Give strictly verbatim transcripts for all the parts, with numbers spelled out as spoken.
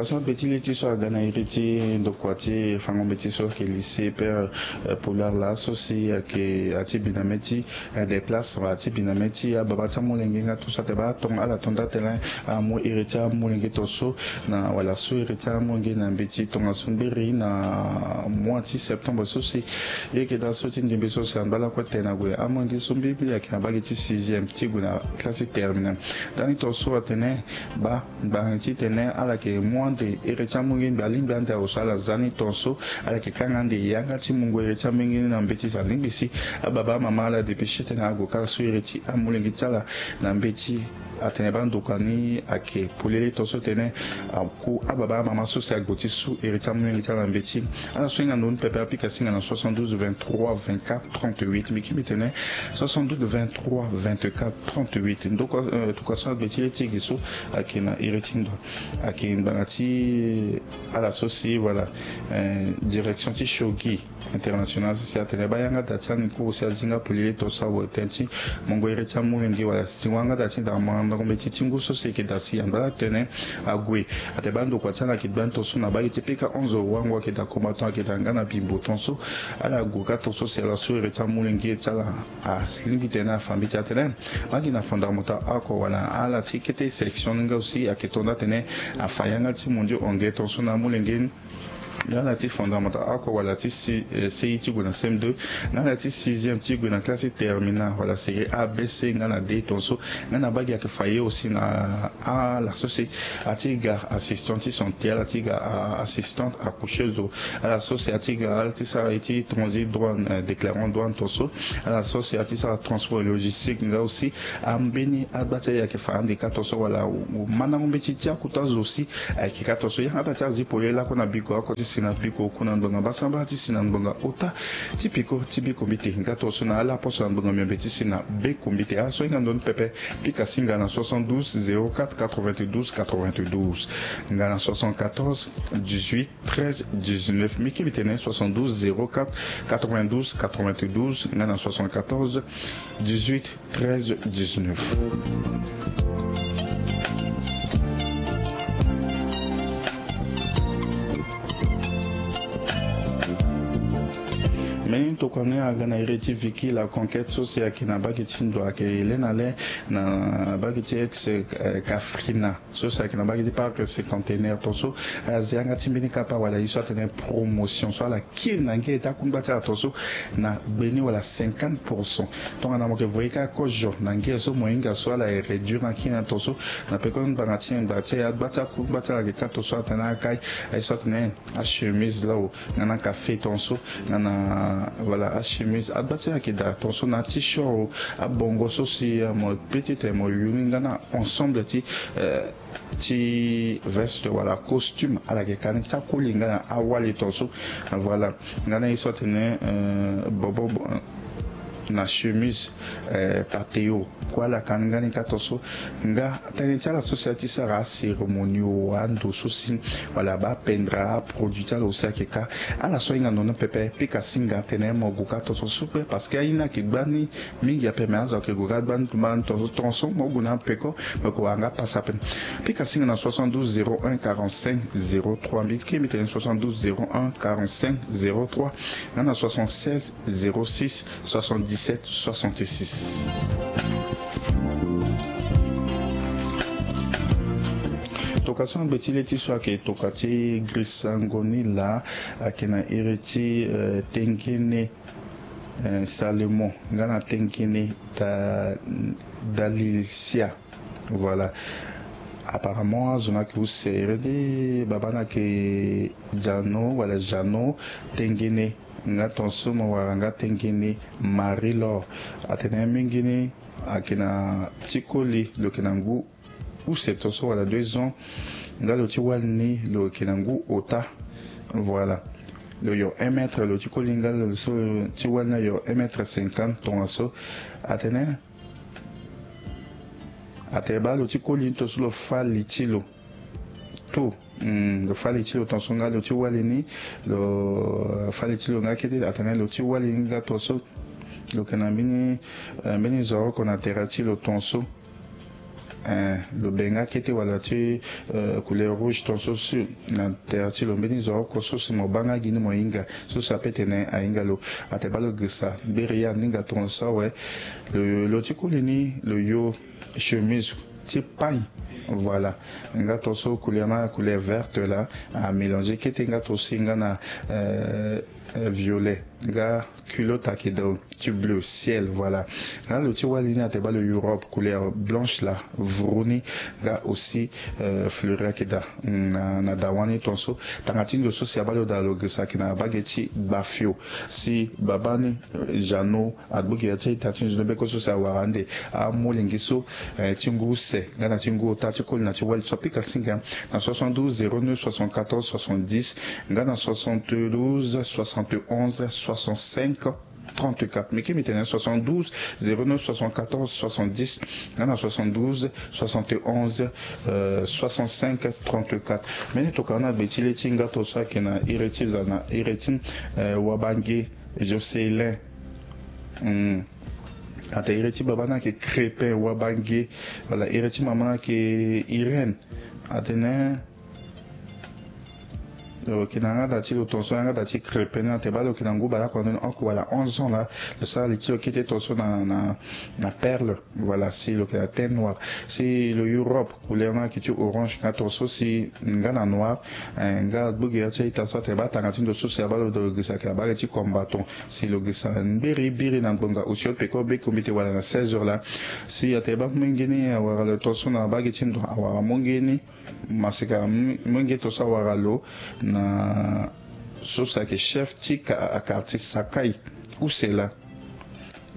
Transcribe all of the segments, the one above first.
Aso abe ti le ti so aga na iri ti ndokua ti fango mbeti so ayeke lycée père, eh, Poulard laso si ayeke ati bi na mê ti, eh, déplace wala ati bi na mê ti ababa ti amolenge nga tongaso ate baa tonga ala tonda tene amu iri ti amolenge tongaso na wala so iri ti amolenge na mbeti tongaso mbiri na mois ti septembre so si. Ye yeke daa so ti ndembe so si angba lakue tene ague amolenge so mbirimbiri ayeke na bage ti sixième ti gue na classe ti terminale. Ndani tongaso atene baa ngbanga ti tene ala yeke mu ande iri ti amolenge ni mbi alingbi ande awe so ala za ni tongaso ala yeke kanga ande yanga ti mungo iri ti amolenge ni na mbeti si alingbi si ababa amama ala dépêcher tene ague kâ so iri ti amolenge ti ala na mbeti. Atene baa ndokua ni ayeke polele tongaso tene aku ababa amama so si ague ti su iri ti amolenge ti ala na mbeti. Ala so hinga ndo ni pepe apika singa na soixante-douze vingt-trois vingt-quatre trente-huit. Mbi kiri mbi tene soixante-douze vingt-trois vingt-quatre trente-huit. Ndokua, eh, tokua so agbe ti le ti e ge so ayeke na iri ti ndo ayeke ngbanga ti ala so si, voilà, eh, direction ti Shogi International so si atene baa yanga da ti ani kuru si azi nga polele tongaso awe tënë ti mungo iri ti amolenge wala si wanga da ti da mandango mbeti ti ngu so si e yeke da si angba ala tene ague. Ate baa ndokua ti ala ayeke gbani tongaso na bage ti pika onze wango ayeke da combattant ayeke da nga na bimbo tongaso. Ala gue kâ tongaso si ala so iri ti amolenge ti ala alingbi tene afa mbeti atene baa gi na fondamental oko wala ala ti kete section ni nga aussi ayeke tonda tene afa yanga ti mondio anglais tongaso na amolenge ni. Nga na ti fondamental oko wala ti si, eh, C I ti gue na C M deux, nga na ti sixième ti gue na classe ti terminale wala série A, B, C nga na D tongaso. Nga na baa gi ayeke fa ye aussi na ala so si ati ga assistant ti santé, ala ti ga, ah, assistante accoucheuse, ala so si ati ga ala ti sara ye ti transit douane, eh, déclarant douane tongaso. Ala so si ati sara transport et logistique nga aussi. Ambeni agba ti aye ayeke fa ande kâ tongaso wala mandango mbeti ti akota zo si ayeke kâ tongaso. Yanga da ti azi polele lakue na biko oko ti si na biko oku na ngbonga mbasambala ti si na ngbonga ota ti piko ti biko mbite nga tongaso na ala poso na ngbonga miombe ti si na beko mbite. Aso hinga ndo ni pepe pika singa na soixante-douze zéro quatre quatre-vingt-douze quatre-vingt-douze nga na soixante-quatorze dix-huit treize dix-neuf. Mbi kiri mbi tene soixante-douze zéro quatre quatre-vingt-douze quatre-vingt-douze nga na soixante-quatorze dix-huit treize dix-neuf. Mbeni tokua ni aga na iri ti Vicky la Conquête so si ayeke na bage ti ndo ayeke le na le na bage ti ex, eh, Kafrina. So si ayeke na bage ti parc cinquantenaire tongaso. Azi yanga ti mbeni kapa wala ye so atene promotion so ala kiri na ngia ti akungba ti ala tongaso na gbeni wala cinquante pour cent. Tongana mo yeke voye kâ kozo na ngia so mo hinga so ala e réduire na kiri na tongaso. Na peko ngbanga ti ngbanga ti agba ti akungba ti ala ayeke kâ tongaso atene akai aye so atene achemise lao nga na café tongaso nga na, voilà, achemise agba ti ala ayeke daa tongaso na t-shirt o, abongo so si, eh, mo peut-être mo yu ni nga na ensemble ti, eh, ti veste wala costume ala yeke ka ni ti akoli nga na awali tongaso. Voilà. Nga na ye so atene, eh, bobo, bo-, na chemise, eh, pateo kue ala ka ni nga ni kâ tongaso. Nga tënë ti ala so si ati sara acérémonie o ando so si wala bapendra aproduit ti ala aussi ayeke kâ. Ala so ahinga ndo ni pepe pika singa tene mo gue kâ tongaso supe parce que aye ni ayeke gbani mingi ape me azo ayeke gue kâ gbani tongaso tongaso mo gue na peko. Me ko wara nga pasa ape. Pika singa na soixante-douze zéro un quarante-cinq zéro trois. Mbi kiri mbi tene soixante-douze zéro un quarante-cinq zéro trois nga na soixante-seize zéro six soixante-dix-sept soixante-six. Toka so angbe ti le ti so ayeke toka ti grisango ni laa ayeke na iri ti, eh, tengene, eh, Salomon nga na tengene da, Dalisia. Voilà. Apparemment azo ni ayeke use ere nde baba ni ayeke Jano wala Jano tengene nga tongaso mo wara nga tengene Marie Laure. Atene mingi ni ayeke na ti koli lo yeke na ngu use tongaso wala deux ans. Nga lo ti wali ni lo yeke na ngu ota. Voilà. Lo yo un mètre lo ti koli nga lo so ti wali ni ayo un mètre cinquante tongaso. Atene Atene baa lo ti koli ni tongaso lo fâ li ti lo. To, hmm, lo fâ li ti lo tongaso nga lo ti wali ni. Lo fâ li ti lo nga kete atene lo ti wali ni nga tongaso. Lo yeke na mbeni, eh, mbeni zo oko na tere ti lo tongaso. Eh, lo be nga kete wala ti, eh, couleur rouge tonso si na tere ti lo mbeni zo oko so si mo baa nga gi ni mo hinga so si ape tene ahinga lo. Ate baa lo girisa mberi ya ni nga tonso awe. Lo, lo ti koli ni lo yo chemise ti pagne. Voilà. Nga tonso couleur na couleur verte la amélange kete nga tonso si nga na, eh, eh, violet nga culotte ayeke daa ti bleu ciel. Voilà. Nga lo ti wali ni ate baa lo Europe couleur blanche la vuru ni. Nga aussi, eh, fleuri ayeke daa na, na dawa ni tonso. Tanga ti ndo so si abaa lo daa lo girisa ayeke na bage ti bafio. Si babaa ni, eh, Jeannot agbu gere ti a-ita ti nzoni beko so si awara ande amolenge so, eh, ti ngu use nga na ti ngu ota ti koli na ti wali so apika singa na soixante-douze zéro neuf soixante-quatorze soixante-dix nga na soixante-douze soixante-onze soixante-cinq trente-quatre. Mbi ke mbi tene soixante-douze zéro neuf soixante-quatorze soixante-dix nga na soixante-douze soixante-onze, euh, soixante-cinq trente-quatre. Mbeni tokana na gbe ti le ti nga tonso ayeke na iri ti za na iri ti, euh, wabange Jocelyn. Hmm. Ate iri ti baba ni ayeke Crépin Wabange. Wala iri ti mama ni ayeke Irène. Atene lo yeke na yanga da ti lo tonso, yanga da ti Crépin ni ate baa lo yeke na ngu baleoko na ndoni oko wala onze ans la. Lo sara li ti lo kete tonso na, na, na perle. Voilà, si lo yeke na teint noir. Si lo Europe couleur ni ayeke ti orange nga tonso si nga na noir. Eh, nga agbu gere ti a-ita so ate baa tanga ti ndo so si abaa lo daa lo girisa ayeke na bage ti combattant. Si lo girisa mbiri biri na ngbonga osio peko be kombite wala na seize heures la. Si ate baa molenge ni awara lo tonso na bage ti ndo awara molenge ni. Masika molenge tonso awara lo na so si ayeke chef ti ka-, quartier Sakai use la.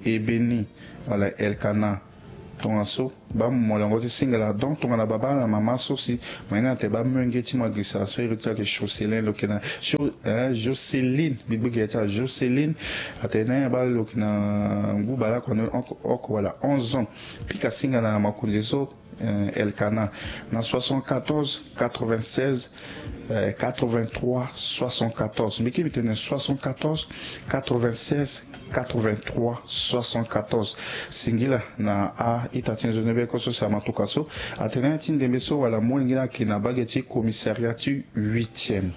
Ebeni wala Elkana. Tongaso baa molongo ti singila donc tongana baba na mama so si mo ye ni ate baa molenge ti mo agirisa so iri ti lo ayeke Jocelyn lo yeke na Jo-, eh, Joceline. Mbi gbu gere ti ala Joceline. Atene baa lo yeke na ngu baleoko na ndoni oko, oko wala onze ans. Pika singa na makonzi so, eh, Elkana na soixante-quatorze quatre-vingt-seize, eh, quatre-vingt-trois soixante-quatorze. Mbi ke mbi tene soixante-quatorze quatre-vingt-seize quatre-vingt-trois soixante-quatorze. Singila na a-ita ti nzoni beko so si amatuka so. Atene ti ndembe so wala molenge ni ayeke na bage ti commissariat ti huitième.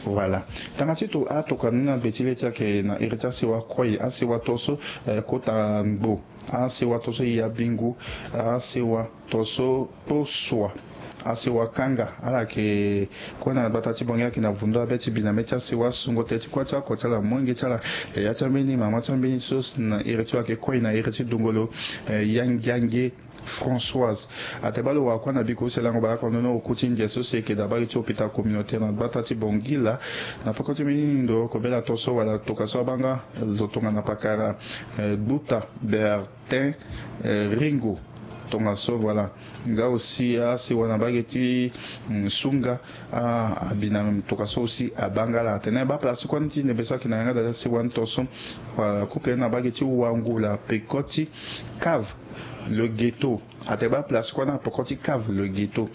Voilà. Tanga ti to, atokua ni na gbe ti le ti ayeke na iri ti asewa koi, asewa tonso, eh, kota ngbo. Asewa tonso ya bingu, asewa tonso posua. Asewa kanga, ala yeke kue na gbata ti Bangui ayeke na vundo abe ti bi na mê ti asewa sungo tënë ti kuâ ti oko ti ala, molenge ti ala, eh, ya ti ambeni, mama ti ambeni so si na iri ti lo ayeke koi na iri ti dungolo, eh, Yangiange Françoise. Ate baa lo wara kuâ na biko use lango baleoko na ndoni oku ti ndia so si eke daa bage ti hôpital communautaire na gbata ti Bangui la. Na peko ti mbeni ndo oko bela tonso wala tokua so abaa nga zo tongana pakara, eh, Gbuta Bertin, eh, Ringo. Tongaso, voilà. Nga aussi asewa na bage ti, mm, Sunga, ah, abi na tongaso aussi abaa nga la. Atene baa place ti kuâ ni ti ndembe so ayeke na yanga da ti asewa ni tonso, voilà, couple ni na bage ti Wangula peko ti Cave le Ghetto. Ate baa place kuâ ni na peko ti Cave le Ghetto.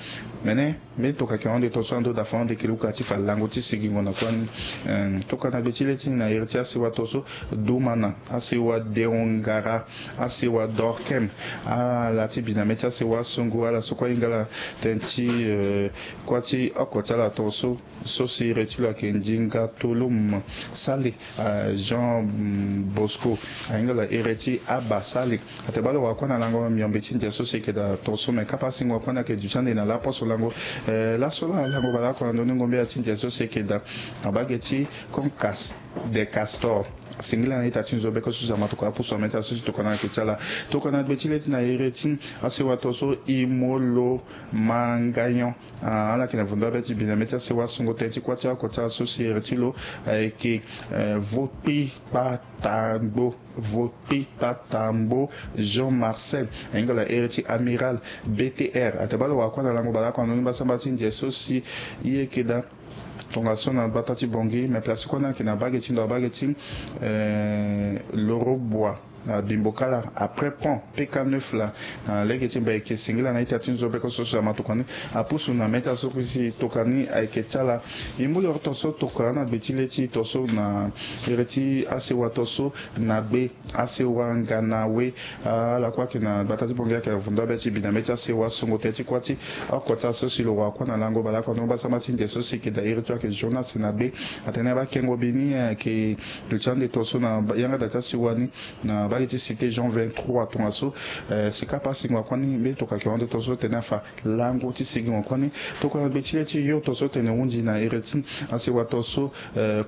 Mene, mbeni tokua ayeke hon ande tonso ando da fa hon ande yeke luka ti fa lango ti sigingo na kuâ ni. Eh, tokua na gbe ti le ti ni na iri ti asewa tonso, Dumana, asewa Deongara, asewa Dorkem, ala ti bi na mê ti asewa sungu, ala so kue ahinga ala tënë ti, eh, kuâ ti oko ti ala tonso. So si iri ti lo ayeke Ndinga Tolum Sale, ah, Jean, mm, Bosco, ahinga ala iri ti Aba Sale. Ate baa lo wara kuâ na lango miombe ti ndia so si eke daa tonso me kapa singo kuâ ni ayeke duti ande na laposo lango. Eh, laso la lango baleoko na ndoni ngombe ya ti ndia so si eke daa na bage ti Concas de Castor. Singila na ita ti nzo beko so si amatuka apusu na mê ti aso si tokua na ayeke ti ala. Tokua na gbe ti le ti na iri ti asewa tonso Imolo Mangayon. Ah, ala yeke na vundo abe ti bi na mê ti asewa sungo tënë ti kuâ ti oko ti ala so si iri ti lo ayeke, eh, Vokpi Patangbo. Vokpi Patangbo Jean Marcel. Ahinga ala iri ti Amiral B T R. Ate baa lo wara kuâ na lango baleoko na ndoni mbasambala ti ndia so si e yeke daa tongaso na gbata ti Bangui, mais place kuâ ni ayeke na bage ti ndo abage ti, eh, Lorobua. na Bimbokala après pont P K neuf laa. Na lege ti mbi ayeke singila na ita ti nzobeko so si amatokua ni apusu na meta so si tokua ni ayeke ti ala. E mu yoro ton so tokua na gbe ti le ti ton so na iri ti asewa ton so na gbe asewa ngana we. Ala kue ayeke na gbata ti bongi ayeke vundo abe ti bi na mbe ti asewa songo tënë ti kuâ ti oko ti ala so si lo wara kuâ na lango baleoko na mbasama ti nze so si yeke daa iri ti lo ayeke journal si na gbe. Atene bakengo bi ni ayeke duti ande ton so na yanga daa ti asewa ni na bage ti cité Jean vingt-trois tongaso. Si kapa asingo akuâ ni mbe tokua ayeke hon ande ton so tene afa lango ti sigingo akuâ ni. Tokua na gbe ti le ti yo ton so tene hunzi na iri ti asewa ton so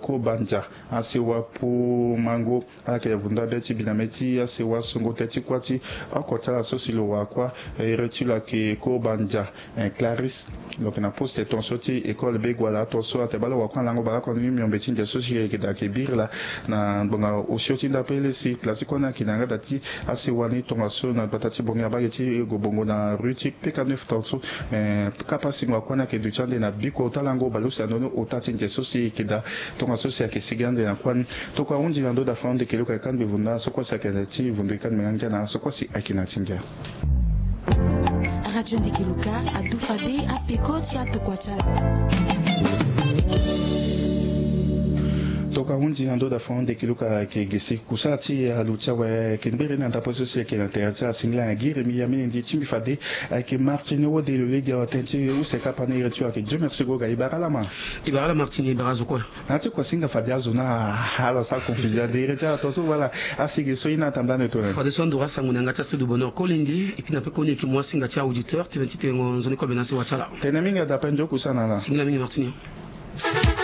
Kobandia asewa Pumango. Ala yeke vundo abe ti bi na mbe ti asewa songo tënë ti kuâ ti oko ti ala so si lo wara kuâ. Iri ti lo ayeke Kobandia Clarisse. Lo yeke na poste ton so ti école be gua laa ton so atene baleoko wara kuâ na lango baleoko ni miombe ti nze so si yeke daa ayeke biri laa na ngbonga osio ti ndapele si laa ti kuâ ni ayeke na yanga daa ti asewa ni tongaso na gbata ti bongi na bage ti Gobongo na rue ti P K neuf ton so. Me kapa singo akuâ ni ayeke duti ande na biko ota lango baleuse na ndoni ota ti nze so si yeke daa tongaso si ayeke sigi ande na kuâ ni. Tokua ahunzi na ndö daa fa ande kele oko ayeke kangbi vundu na so kue si ayeke na ti vundu e kangbi nga ngia na so kue si ayeke na ti ngia. Radio Ndeke Luka adu fade apeko ti atokua ti ala. Tokua ahunzi na ndö daa fa ande kele oko ayeke gi si kusala ti alu ti awe ayeke ngbiri na ndapre so si ayeke na tere ti ala singila na gi remi ya mene ndi ti mbi fade. Ayeke Martini Wode lo lege awa tënë ti use kapa ni iri ti lo ayeke Dieu merci goga e bara ala ma. E bara ala Martini e bara azo kue. Na ya ti kua singa fade azo na ala sara confusion ade iri ti ala ton so wala. Asigi so ye ni atambula ande tongana ni. Fadeso anduru asango na yanga ti asedu bonheur kolenge. Et puis na pekoni e yeke mu asinga ti auditeur tënë ti tengo nzoni kobe na asewa ti ala. Tene mingi adape nzoni kusana ala. Singila mingi Martini.